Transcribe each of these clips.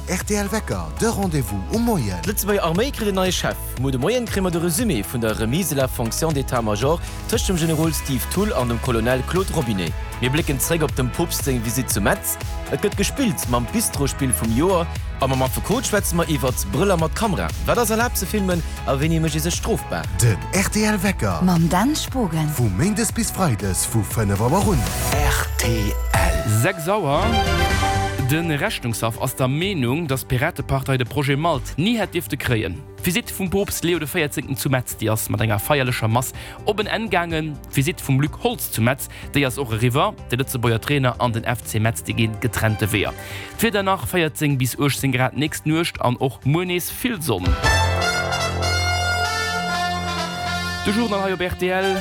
rtl Wecker, de Rendez-vous um Moien. D'Lëtzebuerger Arméi kritt en neie Chef. Muer de Moien kréie mer de Resumé vun der Remise de la fonction d'état-major tëscht dem Generol Steve Thull an dem Colonel Claude Robinet. Mir blécken zréck op dem Poopst seng Visitt zu Metz. Et gëtt gespillt mam Bistro-Spill vum Joer a mam Affekot schwätze mer iwwert Brëller mat Kamera. Wat ass erlaabt ze filmen a wéini mécht ee sech strofbar? Den rtl Wecker. Mam Dan Spogen. Vu Méindes bis Freides vu 5 Auer un. Rtl. 6 Auer, De Rechnungshaff ass der Meenung, datt d'Piratepartei de Projet Malt ni hätt dierfte kréien. D'Visitt vum Poopst Leo de 14. Zu Metz, déi ass mat enger feierlecher Mass op en Enn gaangen. D'Visitt vum Luc Holtz zu Metz, déi ass och eriwwer. De Lëtzebuerger Trainer an den FC Metz, déi ginn getrennte Weeër. D'Wieder nach, 14 bis 18 Grad nächst Nuecht an och muer nees vill Sonn. De Journal hei op rtl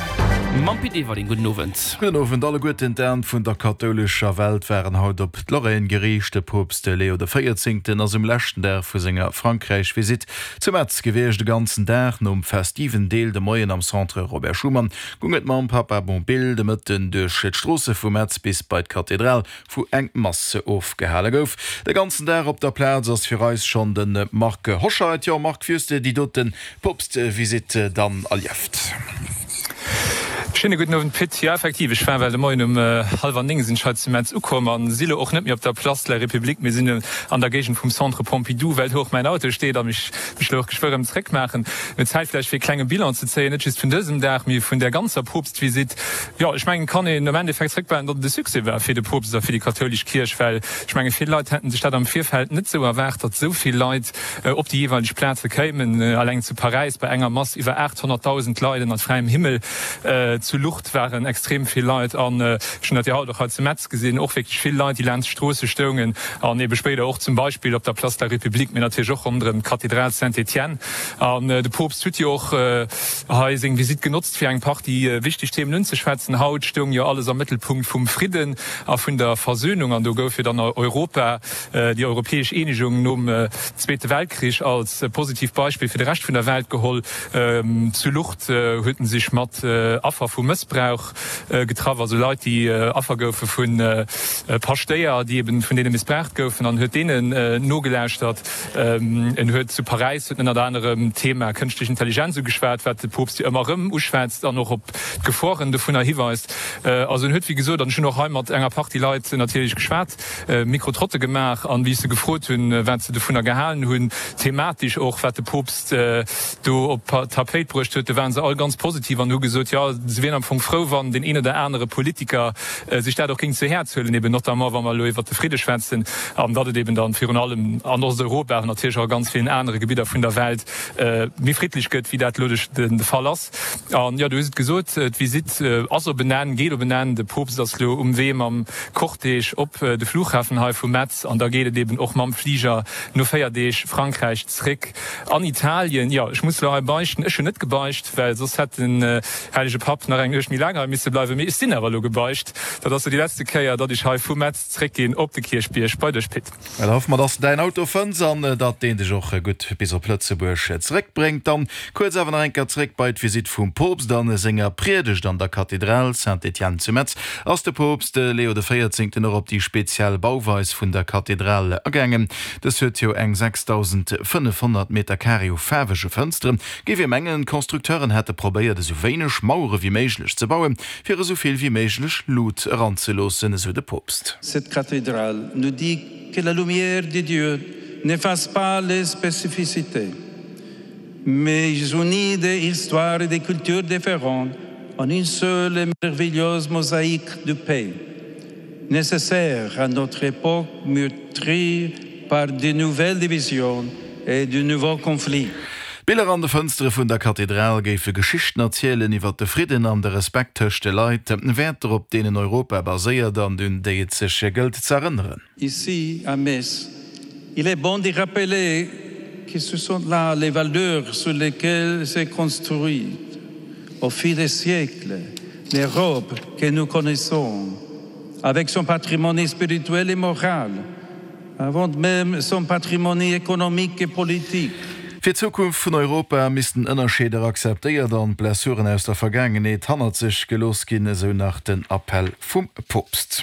mam Pit Everling. Gudden Owend. Gudden Owend alleguerten. D'Aen vun der kathoulescher Welt waren haut op d'Lorraine geriicht. De Poopst Leo de Véierzéngten ass um leschten Dag vu senger Frankräich-Visitt zu Metz gewiescht. De ganzen Dag nom festiven Deel de Moien am Centre Robert Schuman goung et mam Papamobil de Mëtten duerch d'Stroosse vu Metz bis bei d'Kathedral wou eng Mass ofgehale gouf. De ganzen Dag op der Plaz ass fir eis schonn de Marc Hoscheid. Jo Marc, wéi hues de déi dote Poopst-Visitt dann erlieft? Schéine gudden Owend Pit. Jo effektiv, ech war well de Moien um hallwer 9 sinn ech hei zu Metz ukomm an si lo och net méi op der Place de la République, mee sinn an der Géigend vum Centre Pompidou, well do och mäin Auto steet a mech mech lo och geschwë rëm zréck maachen. Mir Zäit vläicht fir e klenge Bilan ze zéien, net just vun dësem Dag, mee vun där ganzer Poopst-Visitt. Jo, ech mengen, et kann een am Endeffekt zréckbehalen, datt et e Succès war fir de Poopst a fir déi kathoulesch Kierch, well ech menge vill Leit hätten sech dat am Virfeld net esou erwaart, datt esou vill Leit op déi jeeweileg Plaze kéimen. Alleng zu Paräis bei enger Mass iwwer 800.000 Leit ënnert fräiem Himmel. Zu Lourdes waren extrem vill Leit an ech hunn dat jo haut och hei zu Metz gesinn, och wierklech vill Leit, déi laanscht d'Stroosse stoungen an ebe spéider och zum Beispill op der Place de la République, mee natierlech och ronderëm d'Kathedral Saint-Étienne. An de Poopst huet jo och hei seng Visitt genotzt, fir eng Partie wichteg Themen unzeschwätzen. Haut stoung jo alles am Mëttelpunkt vum Fridden a vun der Versöhnung an do gouf jo dann Europa, déi europäesch Eenegung nom Zweete Weltkrich als positivt Beispill fir de Rescht vun der Welt geholl. Zu Lourdes huet en sech mat Affer vu Mëssbrauch getraff, also Leit, déi Affer goufe vu Paschtéier, déi eben vun deene missbraucht goufen an huet deenen nogelauschtert. En huet zu Paräis huet en ënnert anerem d'Thema kënschtlech Intelligenz ugeschwat, wat de Poopst jo ëmmer erëm uschwätzt an och op d'Geforen dovunner hiweist. Also en huet wéi gesot, an ech hunn och hei mat enger Partie Leit natierlech geschwat, Micro-Trotte gemaach an wéi ech se gefrot hunn, wat se dovunner gehalen hunn, thematesch och, wat de Poopst do op d'Tapéit bruecht huet, do waren se all ganz positiv an hu gesot, jo, se wieren am Fong frou, wann deen een oder anere Politiker sech dat och géing zu Häerz huelen, eben notamment wa mer elo iwwert de Fridde schwätzen, an datt et eben dann virun allem an Osteuropa, awer natierlech och a ganz villen anere Gebidder vun der Welt méi friddlech gëtt, wéi dat elo de Fall ass. An jo, du hues et gesot, d'Visitt ass op en Enn, geet op en Enn. De Poopst ass elo um Wee mam Cortège op de Flughafen hei vu Metz an da geet et eben och mam Fliger no 4 Deeg Frankräich zréck an Italien. Jo, ech muss elo hei beichten, ech hunn net gebeicht, well soss hätt den hellege Papp nach eng Nuecht méi laang hei misse bleiwen, mee ech sinn awer elo gebeicht. Dat ass elo déi letzte Kéier, datt ech hei vu Metz zréckginn op de Kierchbierg bei dech, Pit. Da hoffe mer, dass de däin Auto fënns an datt deen dech och gutt bis op Lëtzebuerg zeréckbréngt. Dann kuerz awer nach eng Kéier zeréck bei d'Visitt vum Poopst. A senger Priedegt an der Kathedral Saint-Étienne zu Metz ass de Poopst Leo de Véierzéngten och op déi speziell Bauweis vun der Kathedral agaangen. Dës huet jo eng 6.500 Meter Carré u faarwege Fënsteren. Géif ee mengen, d'Constructeuren hätte probéiert esou wéineg Mauere wéi méiglech ze bauen, fir esou vill wéi méiglech Lut eranzeloossen, esou de Poopst. Cette cathédrale nous dit que la lumière de Dieu n'efface pas les spécificités, mais unit des histoires et des cultures différentes en une seule et merveilleuse mosaïque de paix, nécessaire à notre époque meurtrie par de nouvelles divisions et de nouveaux conflits. D'Biller an de Fënstere vun der Kathedral géife Geschichten erzielen iwwer de Fridden an de Respekt tëscht de Leit, Wäerter op deenen Europa baséiert an un déi et sech gëllt z'erënneren. Ici à Metz, il est bon de rappeler que ce sont là les valeurs sur lesquelles s'est construite au fil des siècles l'Europe que nous connaissons, avec son patrimoine spirituel et moral, avant même son patrimoine économique et politique. Fir d'Zukunft vun Europa missten Ënnerscheeder akzeptéiert an d'Blessuren aus der Vergaangenheet hannert sech gelooss ginn, esou nach den Appell vum Poopst.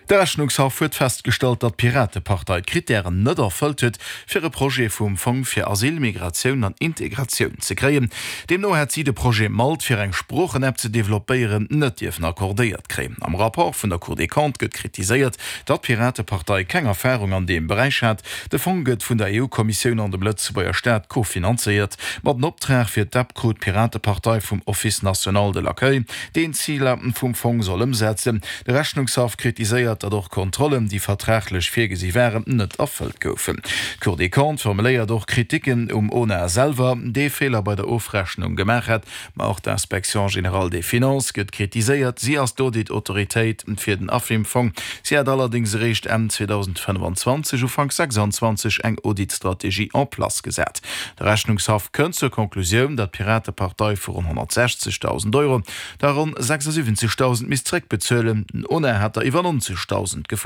De Rechnungshaff huet festgestallt, datt d'Piratepartei d'Krittären net erfëllt huet, fir e Projet vum Fong fir Asyl, Migratioun an Integratioun ze kréien. Deemno hätt si de Projet Malt, fir eng Sproochen-App ze developpéieren, net dierfen accordéiert kréien. Am Rapport vun der Cour des Comptes gëtt kritiséiert, datt d'Piratepartei keng Erfarung an deem Beräich hat. De Fong gëtt vun der EU-Kommissioun an dem Lëtzebuerger Staat kofinanzéiert. Ma den Optrag fir d'App krut d'Piratepartei vum Office national de l'accueil, deen d'Ziler vum Fong soll ëmsetzen. De Rechnungshaff kritiséiert, datt och Kontrollen, déi vertraglech virgesi waren, net erfëllt goufen. D'Cour des Comptes formuléiert och Kriticken um ONA selwer, dee Feeler bei der Ofrechnung gemaach hätt. Ma och d'Inspection générale des finances gëtt kritiséiert. Si ass d'Audit-Autoritéit fir den AFIM-Fong. Si hat allerdéngs eréischt Enn 2025, Ufank 26 eng Audit-Strategie en place gesat. De Rechnungshaff kënnt zur Konklusioun, datt d'Piratepartei vu ronn 160.000 Euro der ronn 76.000 misst zréckbezuelen. Den ona hat der iwwer 90.000 gefuerdert.